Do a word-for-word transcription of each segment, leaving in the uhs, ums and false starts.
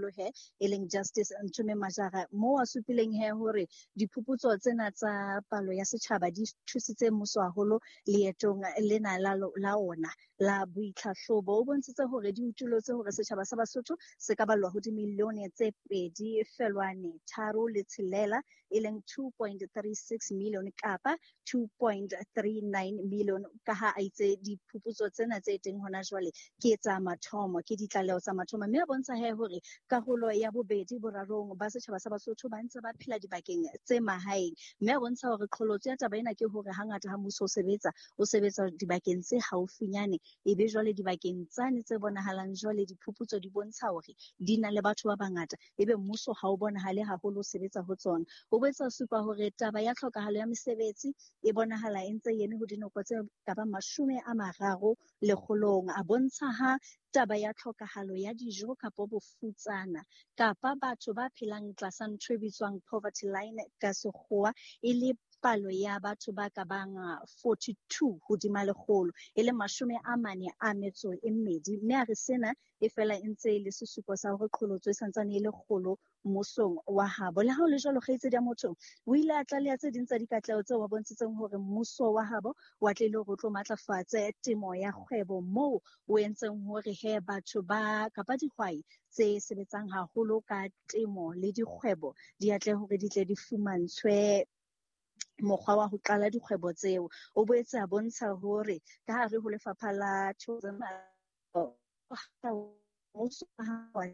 Tonakgolo he e leng Justice Nthume Majara, moo a supileng he hore diphuputso tsena tsa palo ya setjhaba di thusitse mmuso haholo leetong lena la la ona la boitlhahlobo. O bontshitse hore di utulotse hore setjhaba sa Basotho se ka ballwa ho dimilione tse pedi felwane tharo le tshelela, e leng two point three six million kapa two point three nine million, ka ha a itse diphuputso tsena tse teng hona jwale ke tsa mathomo, ke ditlaleho tsa mathomo. Mme a bontsha he hore karolo ya bobedi borarong ba setjhaba sa Basotho ba ntse ba phela dibakeng tse mahaeng. Mme a bontsha hore qholotso ya taba ena ke hore hangata ha mmuso o sebetsa, o sebetsa dibakeng tse haufinyane, ebe jwale dibakeng tsane tse bonahalang jwale diphuputso di bontsha hore di na le batho ba bangata, ebe mmuso ha o bonahale haholo o sebetsa ho tsona. O boetse a supa hore taba ya tlhokahalo ya mesebetsi e bonahala e ntse e eme ho dinoko tse ka bang mashome a mararo lekgolong. A bontsha ha taba ya tlhokahalo ya dijo kapa bofutsana kapa batho ba phelang tlasa ntho e bitswang poverty line ka sekgowa e le palo ya batho ba ka bang forty-two hodima lekgolo, e le mashome a mane a metso e mmedi. Mme a re sena e fela e ntse e le sesupo sa hore qholotso e santsane e le kgolo mmusong wa habo. Le ha ho le jwalo, kgaitsedi ya motho o ile a tlaleha tse ding tsa dikatleho tseo a bontshitseng hore mmuso wa habo o atlehile hore o tlo matlafatse temo ya kgwebo, moo o entseng hore he batho ba kapa dihwai tse sebetsang haholo ka temo le dikgwebo di atlehe hore di tle di fumantshwe mokgwa wa ho qala dikgwebo tseo. O boetse a bontsha hore ka hare ho lefapha la tourism, mmuso wa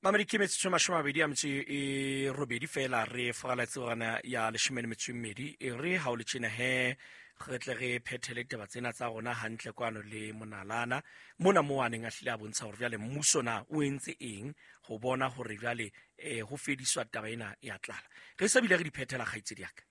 Mamedi ke metsotso e mashome a mabedi a metso e robedi fela re fogaletse gona ya leshome le metso e mmedi. E re ha o le tjena he re tle re phethele ditaba tsena tsa rona hantle kwano le Monalana mona moo a neng a hlile a bontsha hore jwale mmuso na o entse eng ho bona hore jwale eh ho fediswa taba ena ya tlala. Re sa bile re di phethela kgaitsedi ya ka.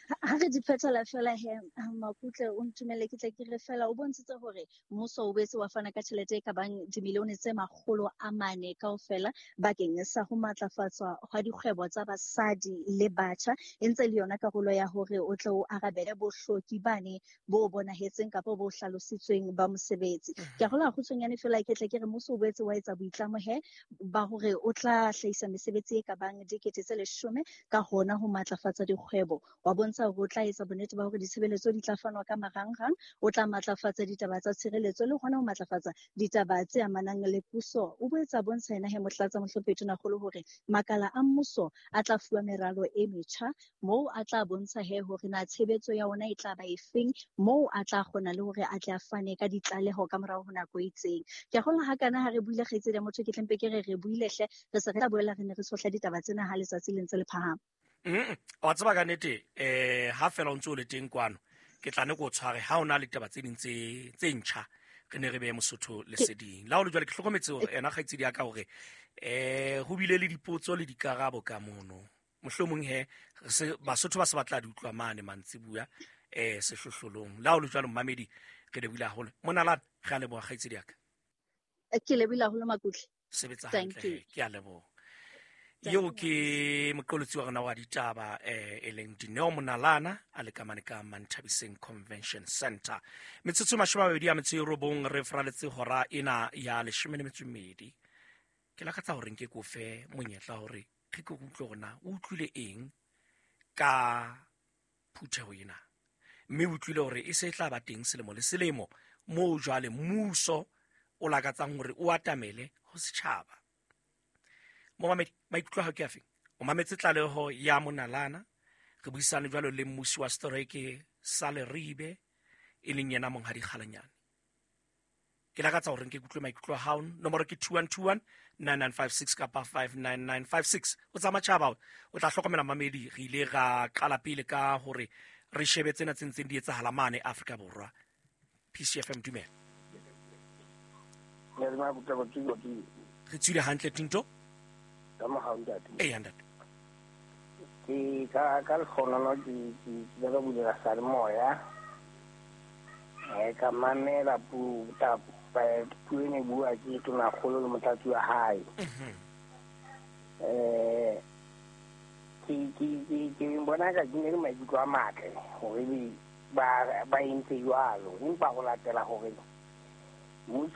Ha re di phethela fela he Makutle, o ntumelle ke tle ke re fela o bontshitse hore mmuso o boetse wa fana ka tjhelete e ka bang dimilione tse makgolo a mane kaofela bakeng sa ho matlafatswa hwa dikgwebo tsa basadi le batjha, e ntse le yona karolo ya hore o tle o arabele bohloki bane bo bonahetseng kapa bo hlalositsweng ba mosebetsi. Ke a kgolwa kgutshwanyane fela ke tle ke re mmuso o boetse wa etsa boitlamo he ba hore o tla hlahisa mesebetsi e ka bang dikete tse leshome ka hona ho matlafatsa dikgwebo. Wa bontsha hore o tla etsa bonnete ba hore ditshebeletso di tla fanwa ka marangrang, o tla matlafatsa ditaba tsa tshireletso le hona ho matlafatsa ditaba tse amanang le puso. O boetse a bontsha yena he Motlatsa Mohlomphehi Tonakgolo hore makala a mmuso a tla fuwa meralo e metjha, moo a tla bontsha he hore na tshebetso ya ona e tla ba efeng, moo a tla kgona le hore a tle a fane ka ditlaleho ka morao ho nako e itseng. Ke a kgolwa ha kana ha re buile kgaitsedi ya motho, ke tle mpe ke re re buile hle, re se re tla boela re ne re tshohla ditaba tsena ha letsatsi le ntse le phahama. Mm, wa tseba ka nnete eh ha fela o ntse o le teng kwano ke tla ne ko tshware ha ona le taba tse ding tse tse ntjha re ne re behe Mosotho leseding. La ho le jwale ke hlokometse hore ena kgaitsedi ya ka hore eh ho bile le dipotso le dikarabo ka mono. Mohlomong he se Basotho ba se batla di utlwa mane mantsibuya eh sehlohlolong. La ho le jwale mmamedi re lebohile haholo. Monalana re a leboha kgaitsedi ya ka. Ke lebohile haholo Makutle. Sebetsa hantle, ke a leboha. Eo ke moqolotsi wa rona wa ditaba eh e leng Dineo Monalana a le kamane ka Manthabiseng Convention Center. Metsotso e mashome a mabedi a metso e robong re fraletse hora ena ya leshome le metso e mmedi. Ke lakatsa hore nke ko fe monyetla hore re ke utlwe hore na o utlwile eng ka phutheho ena, mme o utlwile hore e se e tla ba teng selemo le selemo moo jwale mmuso o lakatsang hore o atamele ho setjhaba. Momamedi, maikutlo a hao ke afe? O mametse tlaleho ya Monalana, re buisane jwalo le mmusi wa setereke sa Leribe e leng yena Monghadi Kgalanyane. Ke lakatsa hore nke kutlwe maikutlo a hao. Nomoro ke two one two one nine nine five six kapa five nine nine five six. O tsa matjhaba o tla hlokomela mamedi, re ile ra qala pele ka hore re shebe tsena tse ntseng di etsahala mane Afrika Borwa. P C F M, dumela. Re tswile hantle Tinto. Ee, ntate. Ke ka ka lekgonono ke ke ke ka bulela salemoya. Eh ka mamela puo ta puo e ne bua ke Tonakgolo le motlatsi wa hae. Eh ke ke ke ke bona ka ke ne le maikutlo a matle hore ba ba entse jwalo, empa ho latela hore mmuso